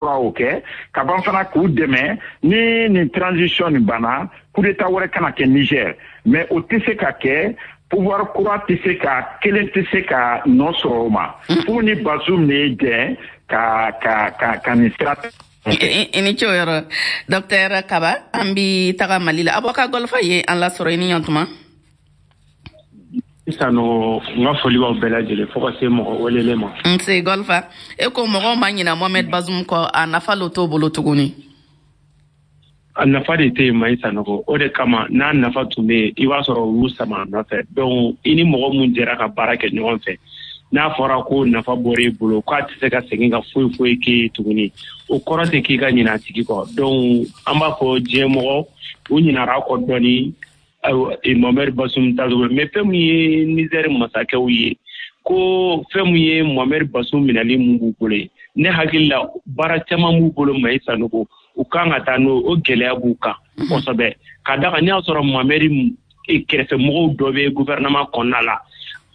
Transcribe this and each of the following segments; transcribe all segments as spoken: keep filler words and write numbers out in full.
O kɛ ka ban fana k'u dɛmɛ ni nin transition nin banna, coup d'état wɛrɛ kana kɛ Niger. Mais o tɛ se ka kɛ, pouvoir kura tɛ se ka kelen tɛ se ka nɔ sɔrɔ o ma fo ni Bazoum de ye jɛn ka ka ka ka nin sira. I ni ce o yɔrɔ, docteur Kaba. An bi taga Mali la. Avocat Golfa ye an lasɔrɔ, i ni ɲɔntuma. Sisan nɔ, n ka foli b'aw bɛɛ lajɛlen fo ka se mɔgɔ welelen ma. Nse Golfa. E ko mɔgɔw ma ɲina Mohamed Bazoum kɔ, a nafa lo t'o bolo tuguni. A nafa de tɛ yen, Mayi Sanogo. O de kama, n'a nafa tun bɛ yen, i b'a sɔrɔ u y'u sama a nɔfɛ. Donc i ni mɔgɔ mun jɛra ka baara kɛ ɲɔgɔn fɛ, n'a fɔra ko nafa bɔra i bolo, k'a tɛ se ka segin ka foyi foyi k'e ye tuguni, o kɔrɔ tɛ k'i ka ɲinɛ a tigi kɔ. Donc an b'a fɔ diɲɛ mɔgɔ u ɲinara kɔ dɔɔni Mohamed Bazoum tacogo. Mais fɛn min ye Niger masakɛw ye, ko fɛn min ye Mohamed Bazoum minɛli mun b'u bolo ye, ne hakili la baara caman b'u bolo, Mayi Sanogo, u kan ka taa n'o o gɛlɛya b'u kan kosɛbɛ. Ka da kan n'i y'a sɔrɔ Mohamed kɛrɛfɛmɔgɔw dɔ bɛ gouvernement kɔnɔna la,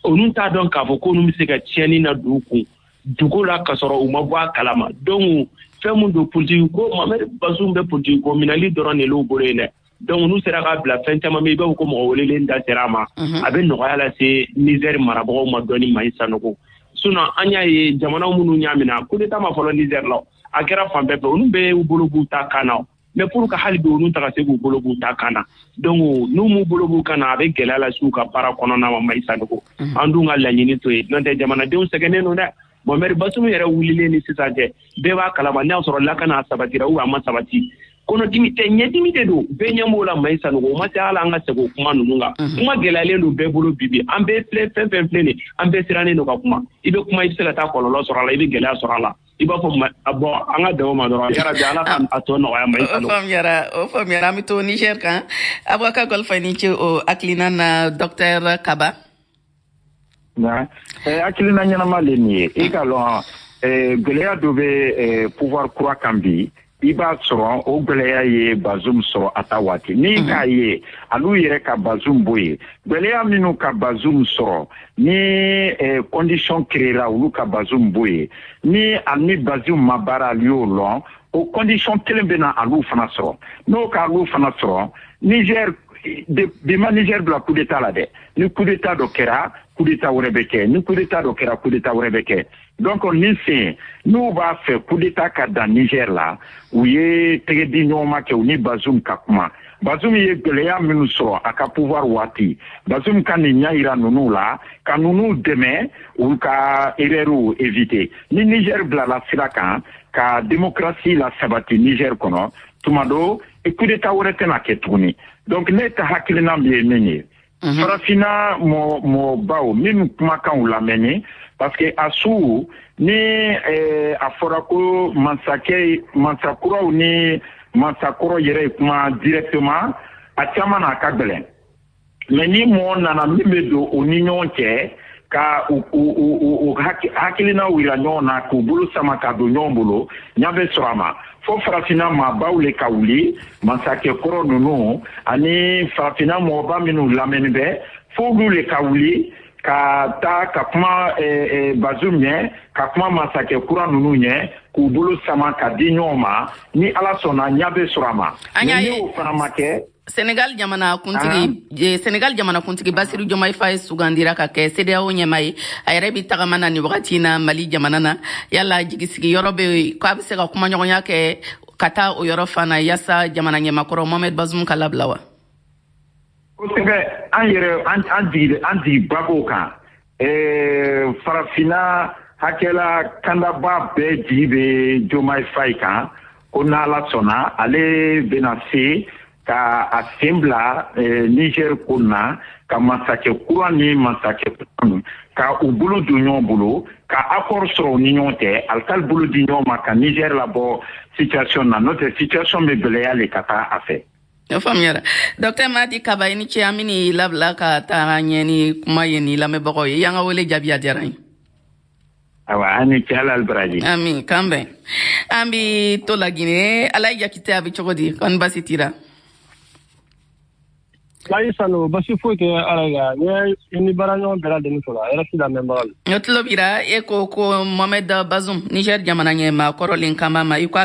olu t'a dɔn k'a fɔ k'olu bɛ se ka tiɲɛni na don u kun dugu la k'a sɔrɔ u ma bɔ a kalama. Donc fɛn mun don, politique ko, Mohamed Bazoum bɛ politique ko minɛli dɔrɔn de l'u bolo yen dɛ. Donc n'u sera k'a bila fɛn caman bɛ, i b'a fɔ ko mɔgɔ welelen da sera a ma, a bɛ nɔgɔya lase Niger marabagaw ma dɔɔni, Mayi Sanogo. Sinon an y'a ye jamana minnu y'a minɛ, coup d'état ma fɔlɔ Niger la, a kɛra fan bɛɛ fɛ, olu bɛɛ y'u bolo b'u ta kan na. Mais pour que hali bi olu ta ka se k'u bolo b'u ta kan na, donc n'u m'u bolo b'u kan na, a bɛ gɛlɛya lase u ka baara kɔnɔna ma, Mayi Sanogo. An dun ka laɲini to yen, n'o tɛ jamanadenw sɛgɛnnen don dɛ. Mohamed Bazoum yɛrɛ wulilen ni sisan cɛ, bɛɛ b'a kalama, n'a y'a sɔrɔ lakana sabatira ou a ma sabati, kɔnɔdimi tɛ, ɲɛdimi de don, bɛɛ ɲɛ b'o la, Mayi Sanogo. O ma se hali an ka segin o kuma ninnu kan. Kuma gɛlɛyalen don bɛɛ bolo bi. Bi an bɛɛ filɛ, fɛn fɛn filɛ nin, an bɛɛ sirannen don ka kuma. I bɛ kuma, i bɛ se ka taa kɔlɔlɔ sɔrɔ a la, i bɛ gɛlɛya sɔrɔ a la. I b'a fɔ bɔn, an ka dan o ma dɔrɔn. Yarabi, Ala ka a tɔ nɔgɔya, Mayi Sanogo. O faamuyara, o faamuyara. An bɛ to Niger kan. Avocat Golfa, ni ce o hakilina na. Docteur Kaba. Hakilina ɲɛnama le nin ye. I ka lɔn, gɛlɛya dɔ bɛ pouvoir kura kan bi. I b'a sɔrɔ o gɛlɛya ye Bazoum sɔrɔ a ta waati n'i k'a ye alu yɛrɛ ka Bazoum bɔ yen. Gɛlɛya minnu ka Bazoum sɔrɔ ni condition créera olu ka Bazoum bɔ yen, ni a ni Bazoum ma baara, alu y'o lɔn, o condition kelen bɛ na alu fana sɔrɔ. N'o ka alu fana sɔrɔ Niger, bi ma Niger bila coup d'état la dɛ. Ni coup d'état dɔ kɛra, coup d'état wɛrɛ bɛ kɛ. Ni coup d'état dɔ kɛra, coup d'état wɛrɛ bɛ kɛ. Donc nin sen, n'u b'a fɛ coup d'état ka dan Niger la, u ye tɛgɛ di ɲɔgɔn ma kɛ, u ni Bazoum ka kuma. Bazoum ye gɛlɛya minnu sɔrɔ a ka pouvoir waati, Bazoum ka nin ɲɛ yira ninnu la, ka ninnu dɛmɛ u ka erreur éviter. Ni Niger bilala sira kan ka démocratie la sabati Niger kɔnɔ, tuma dɔ coup d'état wɛrɛ tɛna kɛ tuguni. Donc ne ka hakilina ye min ye, farafinna mɔ mɔgɔbaw minnu kumakanw lamɛnni, parce que a su ni eh, a fɔra ko mansakɛ mansakuraw ni mansakɔrɔ yɛrɛ ye kuma directement, a caman n'a ka gɛlɛn. Mais ni mɔgɔ nana min bɛ don u ni ɲɔgɔn cɛ ka u u u u hakilinaw yira ɲɔgɔn na, k'u bolo sama ka don ɲɔgɔn bolo, ɲa bɛ sɔrɔ a ma. Fo farafinna maabaw le ka wuli, masakɛ kɔrɔ ninnu ani farafinna mɔgɔba minnu lamɛnni bɛ, fo olu le ka wuli ka taa ka kuma Bazoum ɲɛ, ka kuma masakɛ kura ninnu ɲɛ, k'u bolo sama ka di ɲɔgɔn ma. Ni Ala sɔnna, ɲa bɛ sɔrɔ a ma. An y'a ni ye o fana ma kɛ. Senegal jamana kuntigi, Senegal jamana kuntigi Basiru Diomaye Faye sugandira ka kɛ CEDEAO ɲɛmaa ye. A yɛrɛ bi tagama na nin wagati na Mali jamana na. Yala jigisigi yɔrɔ bɛ yen k'a bɛ se ka kumaɲɔgɔnya kɛ ka taa o yɔrɔ fana yaasa jamana ɲɛmakɔrɔ Mohamed Bazoum ka labila wa? Kosɛbɛ. An yɛrɛ an an jigi an jigiba b'o kan. ɛɛ farafinna hakɛla kandaba bɛɛ jigi bɛ Diomaye Faye kan, ko n'Ala sɔnna, ale bɛna se ka a sen bila Niger ko na, ka masakɛ kura ni masakɛ kura ka u bolo don ɲɔgɔn bolo, ka accord sɔrɔ u ni ɲɔgɔn cɛ, alikali bolo di ɲɔgɔn ma, ka Niger labɔ situation na. N'o tɛ, situation bɛ gɛlɛya le ka taa a fɛ. O faamuyara. Docteur Madi Kaba, i ni ce. An bɛ labila ka taa ɲɛ ni kuma ye ni lamɛnbagaw ye. I y'an ka wele jaabi, a diyara n ye. Awa, an ni ce, Ala baraji. Ami, k'an bɛn. An bi to Laginɛ. Alayi Jakite, a bɛ cogo di? Kɔni basi t'i la? Ayi Sanu, basi foyi tɛ ala la. N ye ni baara ɲɔgɔn bɛɛ lajɛlen sɔrɔ a yɛrɛ si lamɛnbaga la. N tulo bira, e ko ko Mohamed Bazoum, Niger jamana ɲɛmaa kɔrɔlen, kama ma i ko